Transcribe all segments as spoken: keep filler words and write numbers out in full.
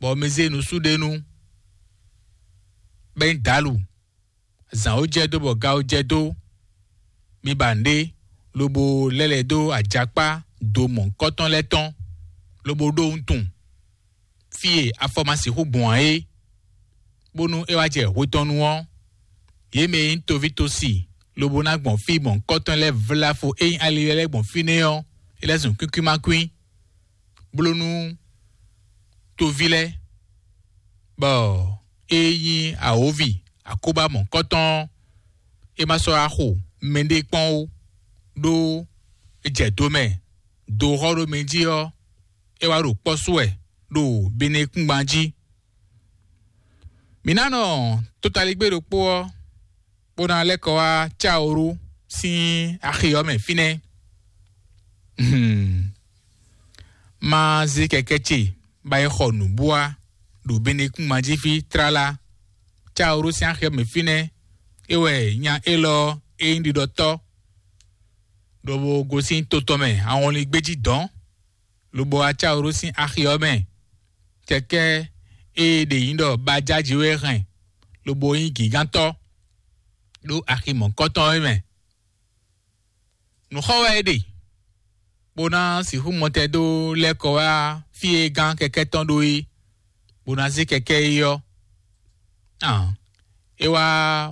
bɔ mi zé nusú ɖé nu, bɔ é nyí dǎlu. Zǎn ó jɛ dó bɔ ga ó jɛ dó, mi ba nǔɖé, lobo lɛ́ lɛ̌ dó ajakpá do mɔ̌hunkɔtɔn lɛ́ɛ tɔn, lobo ɖó wuntun fí e afɔ ma sixú gbɔn ǎ é, bónú é wá jɛ hwe tɔn nu ɔ́, yě mɛ e nyí toví tosi lobo ná gbɔn fí mɔ̌hunkɔtɔn lɛ́ɛ vlá fo e nyí ali lɛ́ɛ gbɔn fínɛ́ ɔ́, é lɛ́ zun kwín kwín ma kwín, bló nú toví lɛ́ɛ, bɔ é nyí awǒvi akóbá mɔ̌hunkɔtɔn ɔ́, é ma sɔ́ wá xo mɛɖé kpɔ́n ó, ɖó é jɛ do mɛ, do xɔ ɖó mɛ jí ɔ́, é wá ɖo kpɔ́ sú wɛ ɖo Benekúngban jí. Mǐ ná nɔ tótaligbé ɖokpó ɔ́, bó ná lɛ́ kɔ wá Cáorú sín axi ɔ́ mɛ fínɛ́. Hmm. Má zé kɛkɛ́ ce ba yi xɔ nǔbúá ɖo Benekúngban jí fí tlala. Cáorú sín axi ɔ́ mɛ fínɛ́, é wɛ nya élɔ́ e nyí ɖiɖɔtɔ́, lobo gosín to tɔn mɛ ahɔnlin gbéjí dɔ̌n, lobo wá Cáorú sín axi ɔ́ mɛ. Kɛkɛ́ e ɖě nyí ɖɔ bajájí wɛ hɛn, lobo nyí gǐgántɔ́ ɖó axi mɔ̌hunkɔtɔn é mɛ. Nǔ xɔ wɛ é ɖe, bó ná sixú mɔtɛn dó lɛ́ kɔ wá fí e gán kɛkɛ́ tɔn ɖó é, bó ná zé kɛkɛ́ é ɔ́. Ǎ, é wá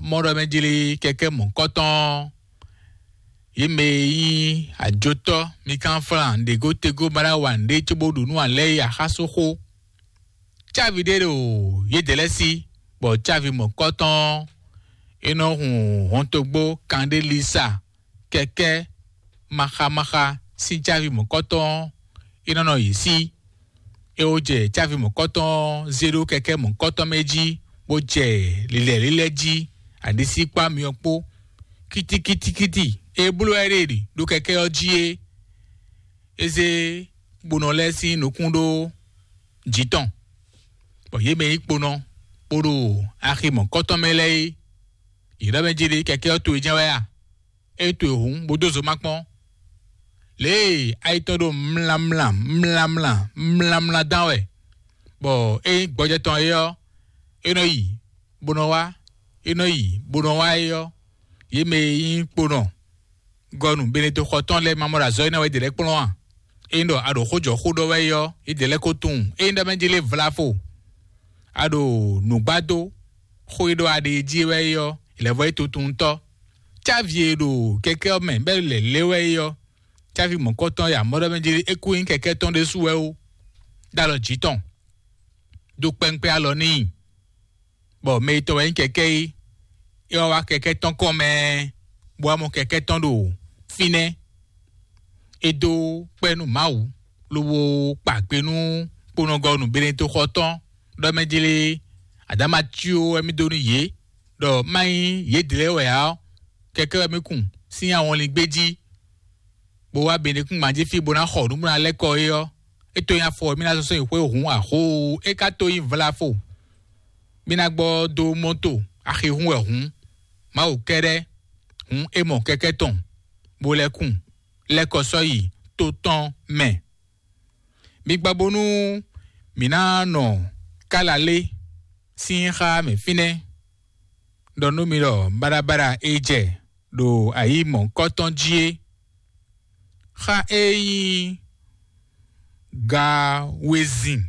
mɔ ɖɔ mɛ jlé kɛkɛ́ mɔ̌hunkɔtɔn ɔ́, yě mɛ e nyí ajotɔ́ mi kán flán ɖěgótegó ma ɖá wa nǔɖé cóbó ɖu nú alɛ́ e axáso xó. Cávi ɖé ɖo yědɛɛ lɛ́ɛ sí, bɔ cávi mɔ̌kɔtɔn ɔ́, é nɔ hun hɔntogbó kanɖélisa kɛkɛ́ maxamaxa sín cávi mɔ̌kɔtɔn ɔ́, é nɔ nɔ yě sí. É wó jɛ cávi mɔ̌kɔtɔn ɔ́ zé ɖó kɛkɛ́ mɔ̌kɔtɔn mɛ jí, bó jɛ lilɛ̌lilɛ́ jí, aɖisíkpá myɔ kpó. Kítíkítíkítí e bló wɛ é ɖe ɖo kɛkɛ́ ɔ́ jí é, é zé kponɔ lɛ́ɛ sín nukún ɖó jǐ tɔn, bɔ yě mɛ e nyí kponɔ kpódó axi mɔ̌kɔtɔn mɛ lɛ́ɛ é, yě ɖɔ mɛ jí ɖi kɛkɛ́ ɔ́ towe jɛ́n wɛ a? É towe hǔn bó dó zo má kpɔ́n. Lě e ayi tɔn ɖo mlamla mlamla mlamla dán wɛ, bɔ é nyí gbɔjɛ́ tɔn é ɔ́, é nɔ yi bó nɔ wá, é nɔ yi bó nɔ wá é ɔ́, yě mɛ e nyí kponɔ gɔnu Benedexɔ tɔn lɛ́ɛ ma mɔ ɖo azɔ̌ énɛ́ wɛ yě ɖě lɛ́ɛ kplɔ́n a? Ényí ɖɔ a ɖo xó jɔ xó ɖɔ wɛ é ɔ́, yě ɖě lɛ́ɛ ko tunwun. Ényí ɖɔ mɛ jí lé vlavo, a ɖo nǔgbá dó xó e ɖɔ a ɖe jí wɛ é ɔ́, lɛ̌vɔ́ é tuntuntɔ́. Cávi e ɖo kɛkɛ́ ɔ́ mɛ bɛ́ lɛ̌ lé wɛ é ɔ́, cávi mɔ̌kɔtɔn ya mɔ ɖɔ mɛ jí é kú nyí kɛkɛ́ tɔn ɖésú wɛ ó, ɖó alɔ jǐ tɔn, dó kpɛ́nkpɛ́n alɔ n'i. Bɔ mɛ e tɔn wɛ nyí kɛkɛ́ é, é wá wá kɛkɛ́ tɔn kɔn mɛ, bó wá mɔ kɛkɛ́ tɔn ɖo fínɛ́. É dó kpɛ́ nú Mawu, lobo kpa kpe nú kponɔgɔnu Benedexɔ tɔn, ɖɔ mɛ jlé Adama cyó wɛ mì dó nú yě, ɖɔ má nyí yědɛɛ ɔ́, kɛkɛ́ wɛ mì kun sín awɔnlin gbé jí, bó wá Benekúngban jí fí bó ná xɔ nǔ bó ná lɛ́ kɔ é ɔ́, é to nyi afɔ wɛ mì ná sɔ́ sɔ́ nyi xwé hǔn axóo. É ka to nyi vlafo, mì ná gbɔ dó mɔto axi hún wɛ hǔn, Mawu kɛ́ɖɛ́ hǔn é mɔ kɛkɛ́ tɔn, bó lɛ́ kun, lɛ́ kɔ sɔ́ yi to tɔn mɛ. Mi gbɔ bónú mǐ ná nɔ kálalé sín xá mɛ fínɛ́, ɖɔ nú mi ɖɔ baɖabaɖa e jɛ ɖo ayǐ mɔ̌hunkɔtɔn jí é. Xá e nyí gawezin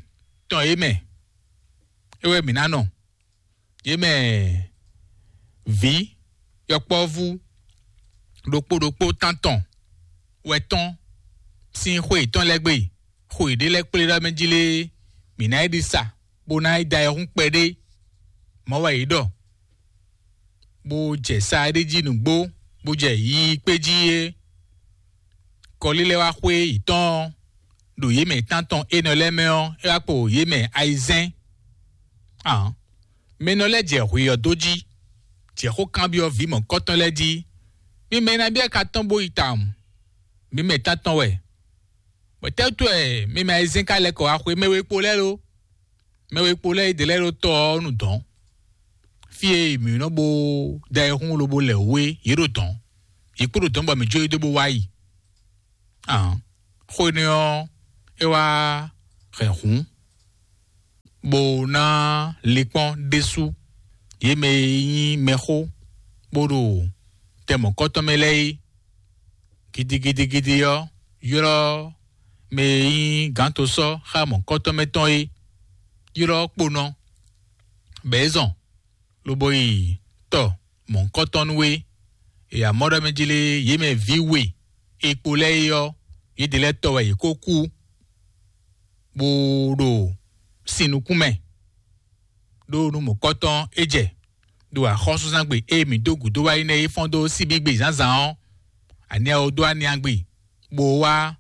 tɔn é mɛ, é wɛ mǐ ná nɔ. Yě mɛ vǐ yɔkpɔ́vú ɖokpó ɖokpó tántɔn wɛ tɔn sín xwe yětɔn lɛ́ɛ gbe, xo yěɖée lɛ́ɛ kplé ɖɔ mɛ jí lé, mǐ ná yi ɖi sa, bó ná yi da ayihún kpɛɖé. Mɔ̌ wɛ yě ɖɔ, bó jɛ sa ɖé jí nǔgbó, bó jɛ yiyi kpé jí é. Kɔlí lɛ́ɛ wá xwé yětɔn ɔ́, ɖo yě mɛ tántɔn énɛ́ lɛ́ɛ mɛ ɔ́, é wá kpo yě mɛ ayizɛ́n. Ahɔn, mɛ nɔ lɛ́ɛ jɛ hwe ɔ́ dó jí, jɛ xó kanbyɔ́ vǐ mɔ̌kɔtɔn lɛ́ɛ jí. Mi mɛ e ná byɔ́ ka tɔn bó yi tawun, mi mɛ tántɔn wɛ. Bɔ tɛ́wútu wɛ mi mɛ ayizɛ́n ka lɛ́ kɔ wá xwé mɛ we kpo lɛ́ɛ lo? Mɛ we kpo lɛ́ɛ yi dě lɛ́ɛ ɖo tɔ ɔ́ nu dɔ̌n. Fí e mǐ nɔ bó da ayihún lobo lɛ wǔ é, yě ɖo dɔ̌n. Yě kpo ɖo dɔ̌n bɔ mǐ jó yí dó bó wá yi. Ahɔn, xó énɛ́ ɔ́, é wá hɛn hǔn. bó ná linkpɔ́n ɖésú yě mɛ e nyí mɛxó bó ɖo tɛn mɔ̌kɔ́tɔn mɛ lɛ́ɛ é. Gidigidigidi ɔ́, ylɔ́ mɛ e nyí gǎntosɔ́ xá mɔ̌kɔ́tɔn mɛ tɔn é, ylɔ́ kponɔ, bɔ é zɔn lobo yi tɔ mɔ̌hunkɔtɔn nú we. E amɔ̌ ɖɔ mɛ jlé yě mɛ vǐ we e kpo lɛ́ɛ é ɔ́, yědɛɛ lɛ́ɛ tɔ wɛ yě kó kú, bó ɖo sin nukún mɛ, ɖó nú mɔ̌kɔtɔn é jɛ ɖo axɔ́súzángbe e mǐ dó gǔdo wá yi nɛ́ é fɔ́n dó síbígbe zǎnzǎn ɔ́, aniawo dó aniangbe bó wá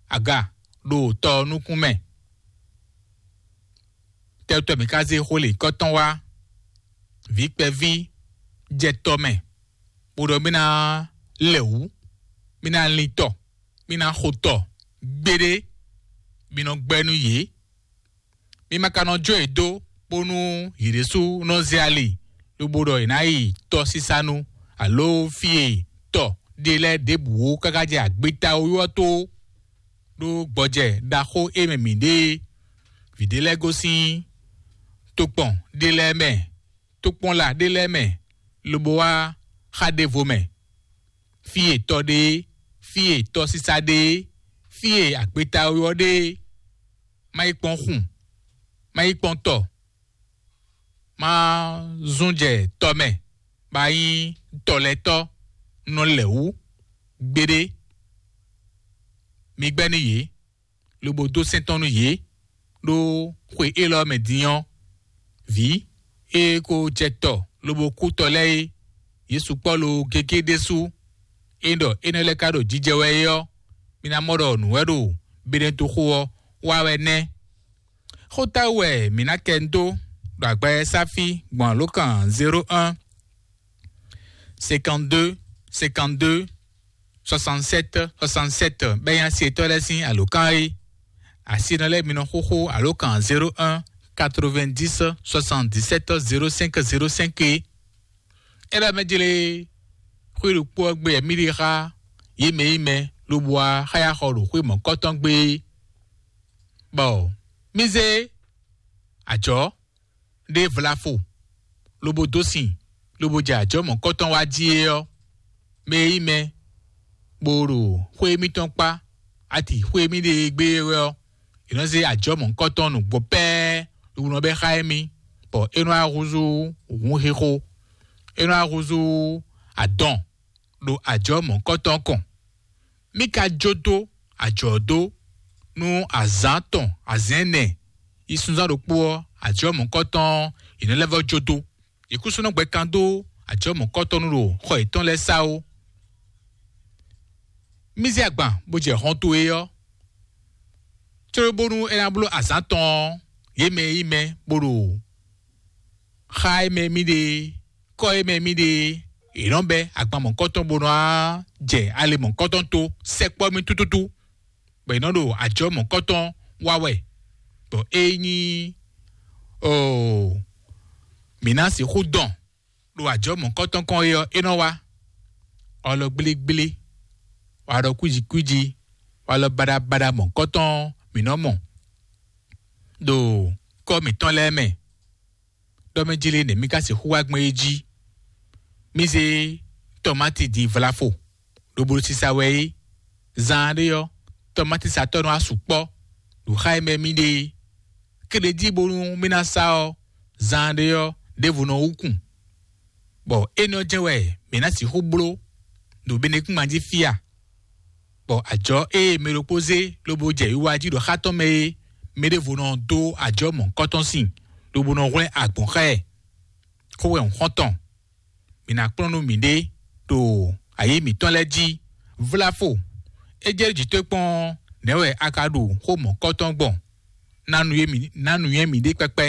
aga ɖo tɔ ɔ́ nukún mɛ. Tɛ́tɔ́ mǐ ka zé xó lěkɔ́tɔn wá? Vǐ kpɛví jɛ tɔ mɛ, bó ɖɔ mì ná lɛ wǔ, mì ná lin tɔ, mì ná xo tɔ gbéɖé, mì nɔ gbɛ́ nú yě. Mi ma ka nɔ jó yě dó bónú yě ɖésú nɔ zé ali, lobo ɖɔ yě ná yi tɔsísanu, alo fí e tɔ ɖe lɛ́ɛ ɖěbǔ ó káká jɛ agbeta ó ɔ́ tó, ɖó gbɔjɛ ɖaxó e mɛ mǐ ɖe é. Vǐ ɖé lɛ́ɛ gosín tokpɔn ɖé lɛ́ɛ mɛ, tokpɔnla ɖé lɛ́ɛ mɛ, lobo wá xa ɖěvo mɛ, fí e tɔ ɖe é, fí e tɔsísa ɖe é, fí e agbeta ó ɔ́ ɖe é. Má yi kpɔ́n xun, má yi kpɔ́n tɔ, má zún jɛ tɔ mɛ, bá nyí tɔlɛtɔ́ nɔ lɛ wǔ gbeɖé. Mi gbɛ́ nú yě, lobo dó sɛ́n tɔn nú yě, ɖó xwe élɔ́ mɛ din ɔ́, vǐ e ko jɛ tɔ lobo kú tɔ lɛ́ɛ é, yě sukpɔ́ lo gégé ɖésú. É ɖɔ énɛ́ lɛ́ɛ ka ɖo jijɛ wɛ é ɔ́, mi ná mɔ ɖɔ nǔ wɛ ɖo Benɛtoxo ɔ́ wa wɛ nɛ́. Xó táwú wɛ mǐ ná kɛ dó ɖo agbɛ́sáfí gbɔn alǒkan zéro un, cinquante-deux, cinquante-deux, soixante-sept, soixante-sept, bɛ́ nyí asi etɔ́ lɛ́ɛ sín alǒkan é. Asi nɔ lɛ́ɛ mi nɔ xóxó alǒkan zéro un, quatre-vingt-dix, soixante-dix-sept, zéro cinq, zéro cinq é. É lɛ́ mɛ jlé xwé ɖokpó ɔ́ gbe wɛ mì ɖe xá yě mɛ e nyí mɛ lobo wá xá yi axɔ ɖo xwé mɔ̌kɔtɔn gbe é. Bɔ mì zé ajɔ̌ ɖé vlafo, lobo dó sin, lobo jɛ ajɔ̌ mɔ̌kɔtɔn wá jí é ɔ́, mɛ e nyí mɛ bó ɖo xwé émítɔn kpá, ati xwé émí ɖe e gbé é wɛ ɔ́, è nɔ zé ajɔ̌ mɔ̌kɔtɔn nǔgbó pɛ́ɛ́ ɖo nɔ bɛ́ xá émí, bɔ é nɔ wá húzú hǔnxixo, é nɔ wá húzú adɔn ɖo ajɔ̌ mɔ̌kɔtɔn kɔn. Mì ka jó dó ajɔ̌ dó nú azǎn tɔn azɛ̌n ɛnɛ yi sunzán ɖokpó ɔ́, ajɔ̌ mɔ̌kɔtɔn ɔ́, è nɔ lɛ́ vɔ́ jó dó. Yě kúsú nɔ gbɛ kan dó ajɔ̌ mɔ̌kɔtɔn nú ɖo xɔ yětɔn lɛ́ɛ sá ó. Mì zé agban bó jɛ hɔn towe ɔ́, cóbónú é ná bló azǎn tɔn ɔ́, yě mɛ e nyí mɛ bó ɖo xá e mɛ mì ɖe, kɔ́ e mɛ mì ɖe, è nɔ bɛ́ agban mɔ̌kɔtɔn bó nɔ wá jɛ ali mɔ̌kɔtɔn tó sɛkpɔ́ mì tútútú, bɔ è nɔ ɖo ajɔ̌ mɔ̌kɔtɔn wa wɛ, bɔ é nyí oo mǐ ná sixú dɔn ɖo ajɔ̌ mɔ̌kɔtɔn kɔn é ɔ́, é nɔ wá. Walɔ gblígblí, walɔ kwíjikwíji, walɔ baɖabaɖa mɔ̌kɔtɔn mǐ nɔ mɔ ɖo kɔ́ mǐtɔn lɛ́ɛ mɛ. Ɖɔ mɛ jlé nɛ̌ mì ka sixú wá gbɔn é jí? Mì zé tɔmáti din vlafo, lobo ɖo sisa wɛ é. Zaan ɖé ɔ́, tɔmátisatɔ́ nɔ wá sukpɔ́ ɖo xá e mɛ mì ɖe é. Kéɖejí bónú mì ná sá ɔ́, zaan ɖé ɔ́, ɖěvo nɔ wú kun, bɔ énɛ́ ɔ́ jɛ́n wɛ mǐ ná sixú bló ɖo Benɛkúngban jí fí a? Bɔ ajɔ̌ e mɛ ɖokpó zé lobo jɛ wiwa jí ɖo xá tɔn mɛ é, mɛ ɖěvo nɔ dó ajɔ̌ mɔ̌hunkɔtɔn sin, lobo nɔ hwlɛ́n agbɔ̌n xá ɛ. Xó wɛ un xɔ́n tɔn, mǐ ná kplɔ́n nú mǐɖée ɖo ayǐ mǐtɔn lɛ́ɛ jí. Vláfo, é jɛ jǐ towe kpɔ́n ɔ́, nɛ̌ wɛ a ka ɖo xó mɔ̌kɔtɔn gbɔn? Ná nǔnywɛ́ mǐ ná nǔnywɛ́ mǐɖée kpɛkpɛ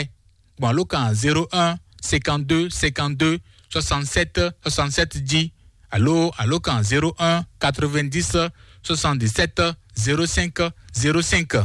gbɔn alǒkan zéro un, cinquante-deux, cinquante-deux, soixante-sept, soixante-sept jí, alo alǒkan zéro un, quatre-vingt-dix, soixante-dix-sept, zéro cinq, zéro cinq.